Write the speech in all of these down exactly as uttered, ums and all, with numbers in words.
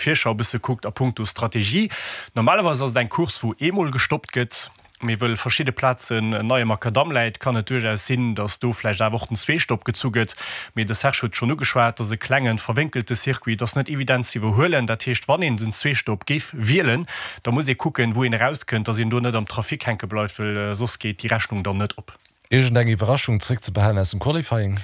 Virschau e bësse kuckt a punkto Strategie. Normalerweis ass et eng Course, wou eemol gestoppt gëtt, mee wëll verschidde Plazen nei am Makadamm läit, kann et duerchaus sinn, datt do vläicht awer och den Zweestopp gezu gëtt. Mee de Serge huet schonn ugeschwat, et ass e klengen, verwénkelte Circuit, et ass net evident ze iwwerhuelen. Dat heescht, wann een den Zweestopp géif wielen, da muss ee kucken, wou een erauskënnt, datt een do net am Trafic hänke bleift, well soss geet déi Rechnung dann net op. Iergendeng Iwwerraschung zréckzebehalen aus dem Qualifying?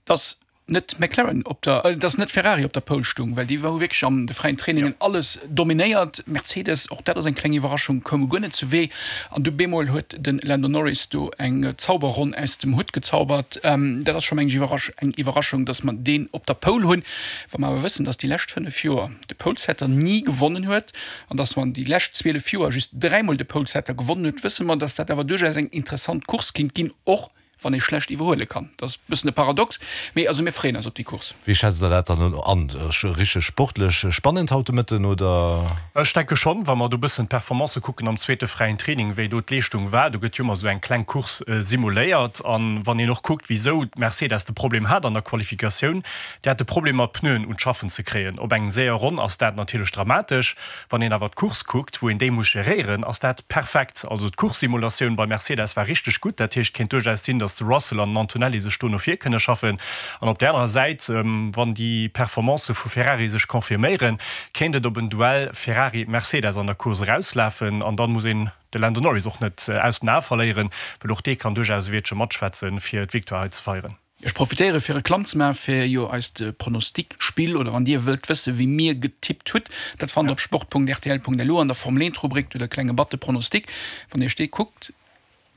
Dass net McLaren op der, dass net Ferrari op der Pole stung, well déi hu wierklech an de fräien Trainingen alles dominéiert. Mercedes, och dat ass eng kleng Iwwerraschung, koume guer net zu Wee an du bemol huet de Lando Norris do eng Zauberronn aus dem Hutt gezaubert. Dat ass scho meng ech eng Iwwerraschung, dass mer deen op der Pole hunn. Wa mer awer wëssen, dass déi lescht fënnef Joer de Polesetter ni gewonnen huet an dass mer déi lescht zwielef Joer just dräimol de Polesetter gewonnen huet, wësse mer, dass dat awer duerchaus eng interessant Course kinnt ginn, och wann ee schlecht iwwerhuele kann. Dat ass e bëssen e Paradox, mee also mir freeën eis op déi Course. Wéi schätzt Der dat dann an? Richteg sportlech spannend haut de Mëtten, oder? Ech denke schonn, wa mer do e bëssen d'Performancë kucken am zweete fräien Training, wéi do d'Leeschtung war, do gëtt jo ëmmer esou eng kleng Course simuléiert. An wann een och kuckt, wisou Mercedes de Problem hat an der Qualifikatioun, déi hate Problemer d'Pneuen un d'Schaffen ze kréien. Op eng séier Ronn ass dat natierlech dramatesch. Wann een awer d'Course kuckt, wou een déi muss geréieren, ass dat perfekt. Also d'Course-Simulatioun bei Mercedes war richteg gutt. Dat heescht, kéint duerchaus sinn, datt de Russell an den Antonelli sech do no vir kënne schaffen. An op där anerer Säit, wann déi Performancë vu Ferrari sech confirméieren, kéint et op en Duell Ferrari-Mercedes an der Course erauslafen. An dann muss een de Lando Norris och net aus den Ae verléieren, well och dee kann duerchaus e Wiertche matschwätzen, fir d'Victoire hei ze feieren. Ech profitéiere fir Reklamm ze maachen fir jo eist Pronostic-Spill, oder wann Dir wëllt wësse wéi mir getippt hutt, dat fannt Der op sport Punkt R T L Punkt L U an der Formel eent Rubrik, do de klenge Button Pronostic. Wann Dir Iech dee kuckt,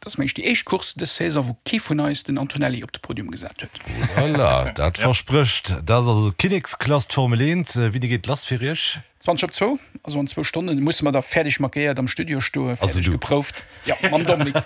dat ass mengen ech déi éischt Course dës Saison, wou kee vun eis den Antonelli op de Podium gesat huet. Voilà, dat versprécht. Dat ass also Kinneksklass, d'Formel eent. Wéini geet lass fir Iech? Zwanzeg op zwou, also an zwou Stonne musse mer da fäerdeg maquéiert am Studio stoen, fäerdeg geprouft. Jo, mam Dominique.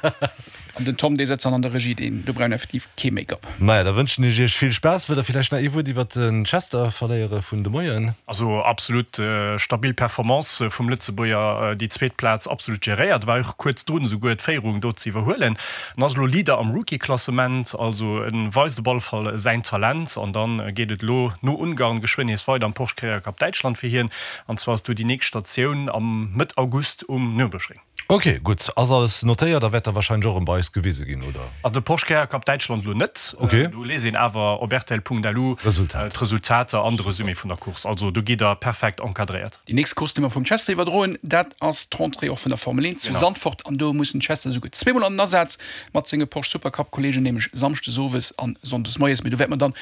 An den Tom, dee sëtzt dann an der Regie, deen, do brauch een effektiv kee Make-up. Maja, da wënschen ech Iech vill Spaass. Wëllt Der villäicht nach ee Wuert iwwert den Chester verléiere vun de Moien? Also absolut stabil Performance vum Lëtzebuerger, déi zweet Plaz absolut geréiert, war och kuerz drun esouguer d'Féierung do ze iwwerhuelen. En ass elo Leader am Rookie-Klassement, also en weist op alle Fall säin Talent. An dann geet et elo no Ungarn geschwënn nees weider am Porsche Carrera Cup Däitschland fir hien. An zwar ass do déi nächst Statioun am Mëtt August um Nürburgring. Ok, gutt, ass alles notéiert a wäert da warscheinlech och erëm bei eis gewise ginn, oder? Also de Porsche Carrera Cup Däitschland elo net. Ok. Do liest een awer op rtl Punkt L U d'Resultater an de Resumé vun der Course. Also do gitt der perfekt encadréiert. Déi nächst Course, déi mer vum Chester iwwerdroen, dat ass d'Rentrée och vun der Formel eent zu Zandvoort. An do muss den Chester esouguer zweemol an den Asaz mat senge Porsche Supercup Kolleegen, nämlech samschdes owes an sonndes moies. Mee do wäerte mer dann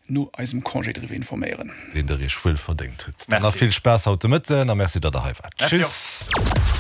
no eisem Congé driwwer informéieren. Deen der iech wuel verdéngt hutt. Dann nach vill Spaass haut de Mëtten a Merci, datt der hei waart. Merci och. Tschüss.